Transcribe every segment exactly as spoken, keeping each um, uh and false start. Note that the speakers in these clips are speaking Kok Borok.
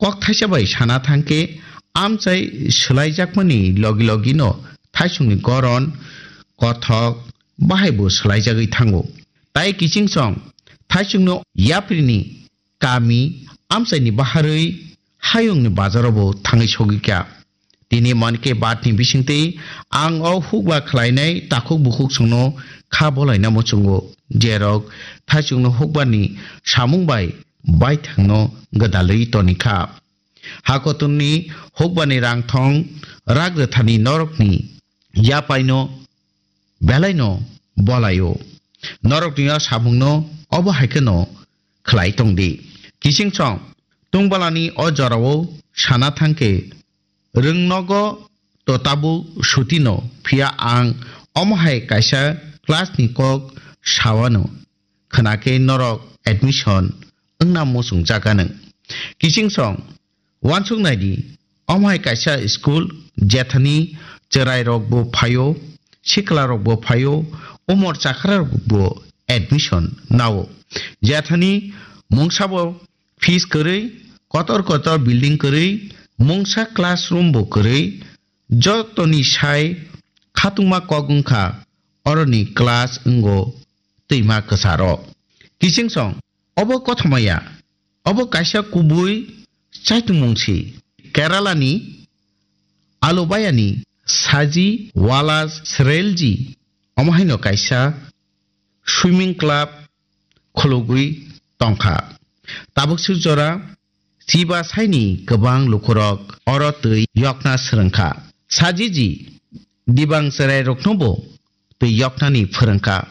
kok thaisa bai sana thangkhe amchai swlaijakmani logi logino thaisongni goron, kothok, bahaibo swlaijagwi thango. Tai kiching song thaisongno yaprini kami amchaini baharwi hayungni bajarobo thangwi sogwi kha. Tini Mann Ki Baat ni bisingtwi ang o hukba khlainai takhuk bukhuk songno kha bolaina muchungo, jerok thaisongno hukbani samung bai baithangno gwdalwi toni kha. Hakotorni hukbani rangthong rak rwthani norokni yapaino belaino bolaio. Norokni o samungno obo hai kheno khlai tongdi. Kiching song tungbalani o jorao sana thangkhe rwngnogo to tabuk sutino, phiya ang omo hai kaisa class ni kok sawano khwnakhe norok admission wngna muchungjak anw. Kiching song uansuk naidi, omo hai kaisa school jethani chwrairokbo phaio, siklarokbo phaio, umor chakrarokbo admission nao. Jethani mungsabo fees kwrwi, kotor kotor building kwrwi, mungsa classroom bo kwrwi, jotoni sai khatungma kok wngkha oroni class wngo twima kwcharo. Kiching song, obo kothoma ya, obo kaisa kubui chaitungmung si. Kerala ni Alubayani Saji Wala Srelji omo haino kaisa swimming club khulugwi tongkha. Tabuk suk jora chiba saini kwbang lukurok oro twi yokna swrwngkha. Sajiji dibang chwrairoknobo twi yoknani phwrwngkha.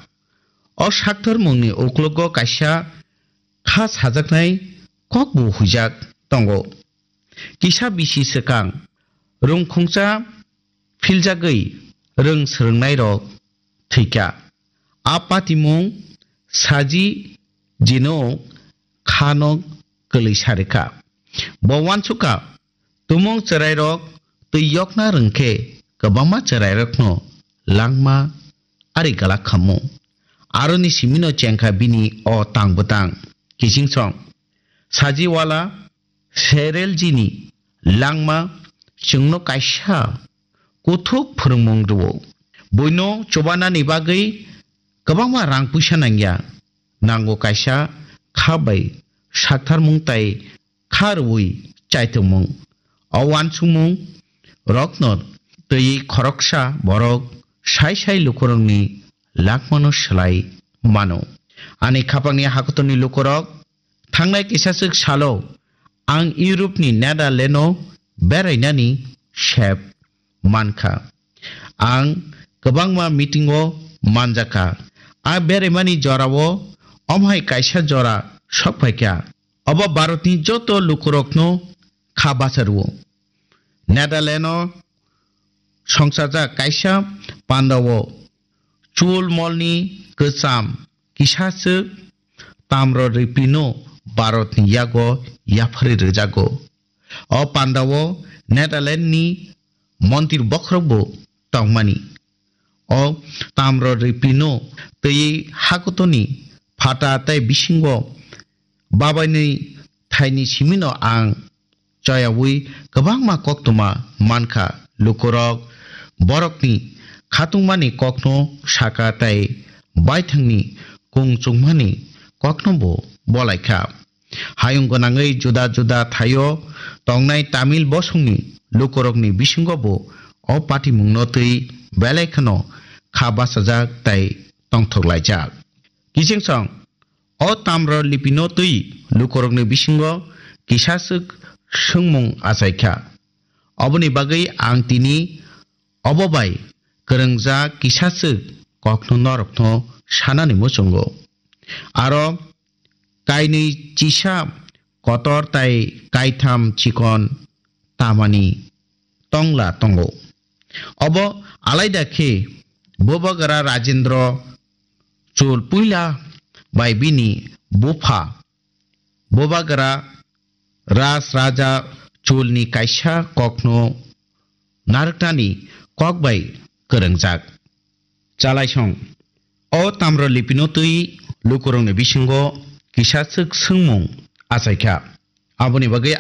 O sakthormungni uklogo kaisa kha sajaknai kokbo huijak tongo. Kisa bisi swkang rwngkhungsa philjagwi rwng swrwngnairok thwikha. A patimung Saji jino khano kwlwi sarikha. Bo uansukha, tumung chwrairok twi yokna rwngkhe kwbangma chwrairokno langma ari galak khamu. Aroni simino chengkha bini o tang bwtang. Kiching song. Saji Wala Serel jini langma chwngno kaisa kuthuk phwrwngmung rwo. Buino chubanani bagwi kwbangma rang puisa nangya. Nango kaisa kha bai saktharmung tai kha rwui chaitongmung. O uansukmung rokno twi khoroksa borok sai sai lukurokni langmano swlai mano. Ani khapangni hakotorni lukurok thangnai kisaswk salo ang Europe ni Netherlands o berainani sep mankha. Ang kwbangma meeting o manjakha. A beraimani jorao omhai kaisa jora sokphaikha. Obo Bharatni joto lukurokno kha bacharwo. Netherlands o songchajak kaisa pandao chul molni kwcham kisaswk tamro ripino Bharatni yago yapharwi rwjago. O pandao Netherlands ni montir bokhorokbo tongmani. O tamro ripino twi hakutoni phata tei bisingo babainwi thaini simino ang choyaui kwbangma koktwma mankha. Lukurok borokni khatungmani kokno sakha tei baithangni kung chukmani koknobo bolaikha. Hayung gwnangwi juda juda thaio tongnai Tamil bosongni lukurokni bisingobo o patimungno twi belai kheno kha bachajak tei tongthok laijak. Kiching song, o tamro lipino twi lukurokni bisingo kisaswk swngmung achaikha. Oboni bagwi ang tini obo bai kwrwngjak kisaswk kokno norokno sanani muchungo. Aro kainwi chisa kotor tai kaitham chikon tamani tongla tongo. Obo alaida khe Bubagra Rajendra Chol puila bai bini bupha Bubagra Ras Raja Cholni kaisa kokno narwknani kok bai kwrwngjak. Chalaisong. O tamro lipino twi lukurokni bisingo kisaswk swngmung achaikha. Aboni bagwi